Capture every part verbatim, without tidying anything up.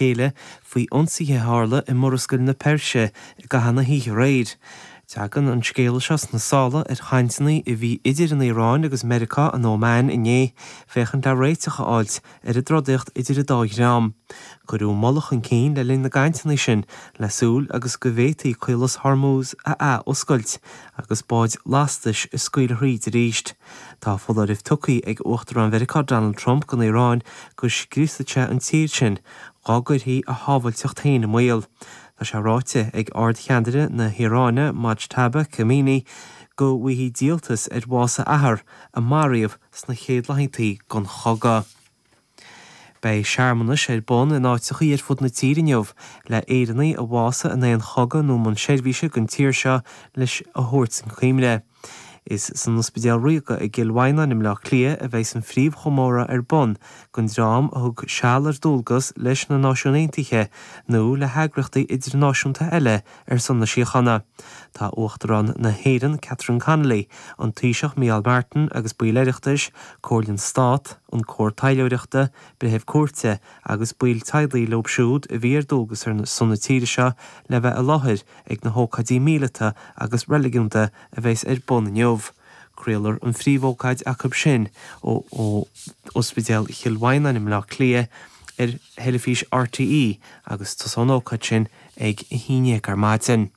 chéile faoi ionsaithe a tharla i Murascaill na Peirse i gcaitheamh na hoíche aréir. Tagann an scéala seo sna sála ar chainteanna a bhí idir an Iaráin agus Meiriceá in Óman inné féachaint le réiteach a fháilt ar an dtrodaíocht idir an dá dhream. Cuireadh moladh chun cinn le linn na gcainteanna sin le súil agus go bhféadfaí Caolas Hormuz a athoscailt agus báid lastais a scaoileadh thríd arís. Tá foláireamh tugtha ag Uachtarán Mheiriceá Donald Trump don Iaráin go scriosfaidh sé an tír sin dá gcuirfí a shábháilteacht féin i mbaol. Tá sé ráite ag ardcheannaire na hIaráine Mojtaba Khamenei go bhfaighidh díoltas ar bhás a athar a maraíodh sna chéad laethanta den chogadh. Beidh searmanais ar bun in áiteachaí ar fud na tíre inniu le Éireannaigh a bhásaigh in aon chogadh nó i mbun seirbhíse don tír seo leis a thabhairt chun cuimhne. Is san Ospidéal Ríoga i gCill Mhaighneáin i mBleá Cliath a bheidh an phríomhchomóradh ar bun don dream a thug seal ar dualgas leis na Náisiúin Aontaithe nó le heagraíochtaí idirnáisiúnta eile ar son na síochána. Tá Uachtarán na hÉireann Catherine Connolly, an Taoiseach Micheál Martin agus baill Oireachtais, Comhairle an Stát, an Cór Taidhleoireachta, Breithimh Cúirte agus baill teaghlaigh leo siúd a bhí ar dualgas ar son na tíre seo le bheith i láthair ag na hócáidí míleata agus reiligiúnda a bheas ar bun inniu. Craolfar an phríomhócáid acu sin ó ó Ospidéal Chill Mhaighneáin i mBleá Cliath ar theilifís RTÉ agus tosóidh an ócáid sin ag a haon déag ar maidin.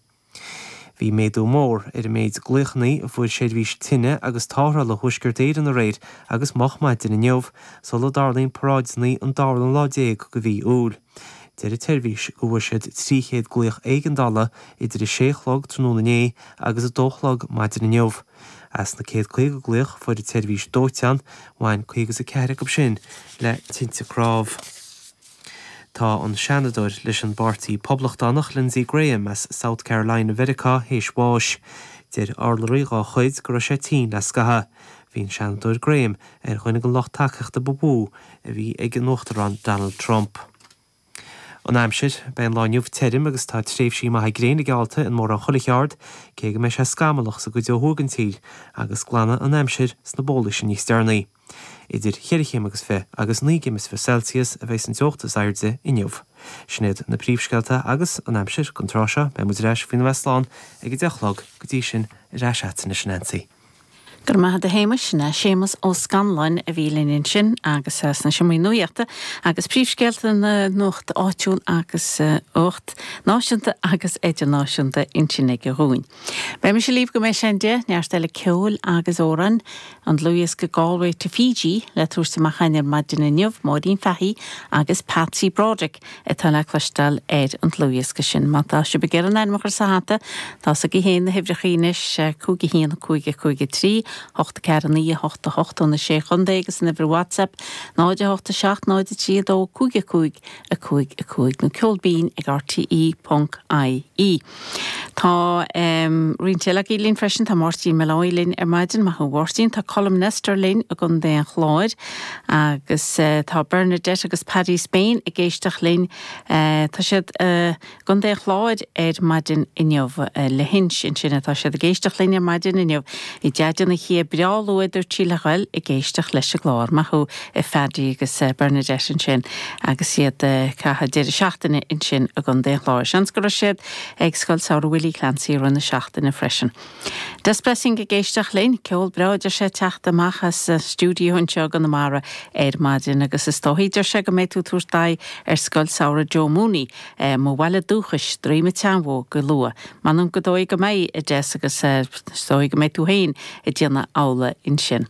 Bhí méadú mór ar an méid glaochanna a fuair seirbhís tine agus tarrthála Thuaisceart Éireann aréir agus moch maidin inniu sula dtarlaíonn paráideanna an dara lá déag de mhí Iúil. Deir an tseirbhís go bhfuair siad trí chéad glaoch éigeandála idir a sé a chlog tráthnóna inné agus a dó a chlog maidin inniu. As na céad caoga glaoch fuair an tseirbhís dóiteáin, bhain caoga is a ceathair acu sin le tinte cnámh. Tá an seanadóir leis an bPáirtí Poblachtánach Lindsey Graham as South Carolina Mheiriceá théis bháis. Deir urlabhraí dá chuid go raibh sé tinn le scaitheamh. Bhí an seanadóir Graham ar dhuine den lucht tacaíochta ba mhó a bhí ag an Uachtarán Donald Trump. An aimsir beidh an lá inniu tirim agus tá tréimhsí maithe gréine geallta in mórán chuile cheard, cé go mbeidh sé scamallach sa gcuid ó thuaidh den tír agus glanfaidh an aimsir sna bólaí sin níos deireanaí. Idir cheithre chéim agus fiche agus naoi gcéim is fiche Celsius a bheidh an teocht is airde inniu. Sin iad na príomhscéalta agus an aimsir don tráth seo beidh muid ar ais faoina bheith slán ag a deich a chlog go dtí sin ar ais agat anois Nancy. Go raibh maith agat a Shéamais na Séamus Ó Scanláin a bhí linn ansin agus sna seomraí nuachta agus príomhscéalta na nuachta áitiúil agus nuacht náisiúnta agus idirnáisiúnta ansin aige dhúinn. Beidh mise libh go mbeidh sé a deich neart eile ceoil agus amhrán an dlúthdhiosca Galway to Fiji le tabhairt amach ar maidin inniu Máirín Fahy agus Patsy Broderick atá le cloisteáil ar an dlúthdhiosca sin. Má tá sibh ag iarraidh ainm a chur sa hata tá agaibh féin na huimhreacha anois cúig a haon cúig cúig trí hocht ceathair naoi hocht hocht ó na sé chontae agus an uimhir WhatsApp náid a hocht a seacht náid a trí dó cúig a cúig a cúig a cúig nó ceol binn ag RTE ponc IE. Tá um, roinnt eile linn freisin tá Máirtín Molloy linn ar maidin maith thú Mháirtín tá Colm Nestor linn i gContae an Chláir agus uh, tá Bernadette agus Paddy Spain ag éisteacht linn uh, tá siad uh, gContae an Chláir ar maidin inniu uh, le hinse ansin atá siad ag éisteacht linn ar maidin inniu i deadin na chi breáluidir tíle ag éisteacht leis an gclár maith thú a Phaddy agus uh, Bernadette ansin agus iad uh, caitheamh deireadh seachtaine ansin i gContae an Chláir. Seans go raibh siad ag Scoil Samhraidh Willie Clancy run na seachtaine freisin. Des Blessing ag éisteacht linn ceol breá sé teacht amach as stiúideo anseo i gConamara ar maidin agus is dóigh deir sé go mbeidh tú tabhairt aghaidh ar Scoil Samhraidh Joe Mooney eh, mo bhaile dúchais Droim an tSeanbhó go luath. M'anam go dóigh go mbeidh a Des agus dóigh go mbeidh tú féin ag déanamh amhlaidh ansin.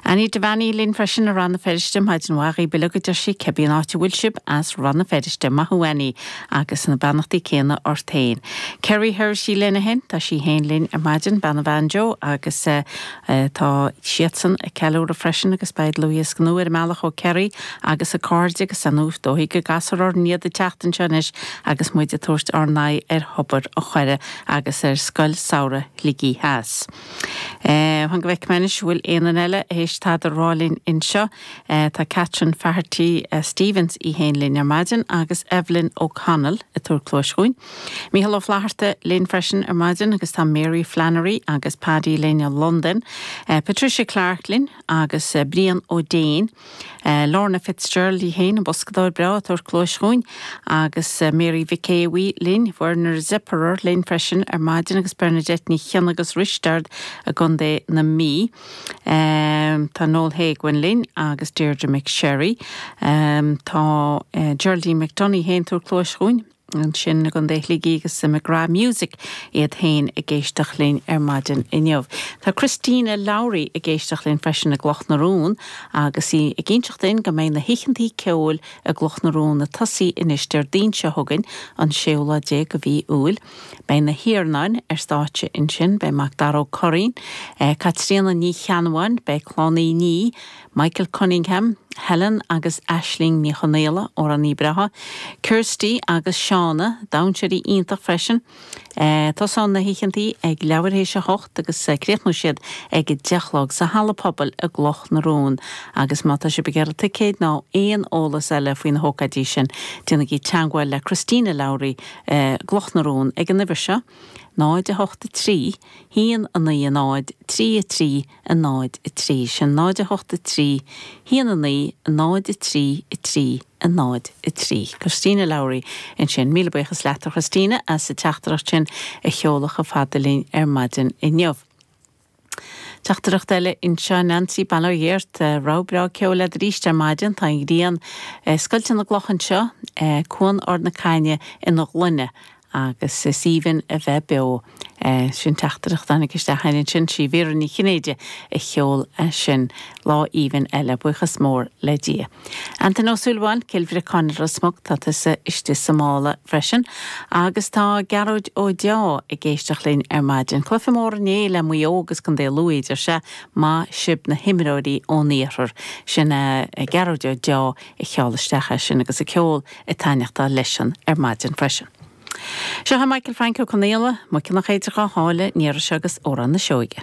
Annie Devaney linn freisin i Rann na Feirste maidin mhaith uile go deir sí cibé áit a bhfuil sibh as Rann na Feirste maith thú Annie agus na beannachtaí céanna ort féin. Kerry Hershey lena hin tá sí féin linn ar maidin bean bhean Joe agus uh, uh, tá siadsan ag ceiliúradh freisin agus beidh dlúthdhiosca nua ar an mbealach ó Kerry agus a cairde agus anú dóigh go gasar ar níad a teachtain seis agus muid ag tabhairt ár n-aghaidh ar Thobar an Choire agus ar Scoil Samhraidh Shligigh Theas. Uh, Han go bhfuil bhfuil aon eile eile théis tada a rá linn anseo. Tá Catherine Faherty Stevens í féin linn ar maidin agus Evelyn O'Connell ag tabhairt cluais dhúinn. Mícheál Ó Flatharta linn freisin ar maidin agus tá Mary Flannery agus Paddy linn i Londain. Patricia Clark linn agus Brian Ó Déin. Lorna Fitzgerald í féin an boscadóir breá ag tabhairt cluais dhúinn agus Mary Mhic Éabhaí linn, Werner Zipperer linn freisin ar maidin agus Bernadette Ní Chionnaith agus Risteard i gContae na Mí. Tá Noel Haguin linn agus Deirdre McSherry. Tá Geraldine McDonough féin ag tabhairt cluais dhúinn ansin i gContae Shligigh agus McGrath Music iad féin ag éisteacht linn ar maidin inniu. Tá Christina Lowry ag éisteacht linn freisin i gCloch na Rón agus í ag inseacht dúinn go mbeidh na hoícheantaí ceoil i gCloch na Rón ag tosaí anois Déardaoin seo chugainn an séú lá déag de mhí Iúil. Beidh na hIarnáin ar stáitse ansin, beidh Macdara Ó Curraoin, Caitríona Ní Cheannabháin, beidh Clann Uí Ní, Michael Cunningham, Helen agus Aisling Ní Chonaola, amhránaí breá, Kirsty agus Shauna, damhsóirí iontach freisin. Tosaíonn na hoícheantaí ag leathuair théis a hocht agus críochnóidh siad ag a deich a chlog sa Halla Pobail i gCloch na Rón. Agus má tá sibh ag iarraidh ticéid nó aon eolas eile faoi na hócáidí sin, déanaigí teagmháil le Christina Lowry i gCloch na Rón ag an uimhir seo, náid a hocht a trí, haon a naoi a náid, trí a trí a náid a trí. Sin náid a hocht a trí, haon a naoi a náid a trí a trí a náid a trí. Christina Lowry ansin. Míle buíochas leat a Christina as an teachtaireacht sin a sheoladh chomh fada linn ar maidin inniu. Teachtaireacht eile anseo Nancy Bail ó Dhia ort, rogha breá ceoil agat arís ar maidin, tá an ghrian ag scoilteadh na gcloch anseo, Cuan Ard na Caithne ina ghloine agus is aoibhinn a bheith beo. Sin teachtaireacht a tháinig isteach ansin sí Vera Ní Chinnéide a sheol é sin lá aoibhinn eile, buíochas mór le Dia. Antain Ó Súilleabháin, Cill Bhriocáin Ros Muc, tá tusa istigh sa mála freisin agus tá Gearóid Ó Deá ag éisteacht linn ar maidin. Cluiche mór inné le Maigh Eo agus Contae Lú a deir sé, maith sibh na himreoirí ón iarthar. Sin Gearóid Ó Deá a sheol isteach é sin agus an ceol ag taitneachtáil leisean ar maidin freisin. Seo é Michael Frank Ó Conaola, Muiceann nach féidir dhá sháile, an iarraidh seo agus Amhrán na Sióige.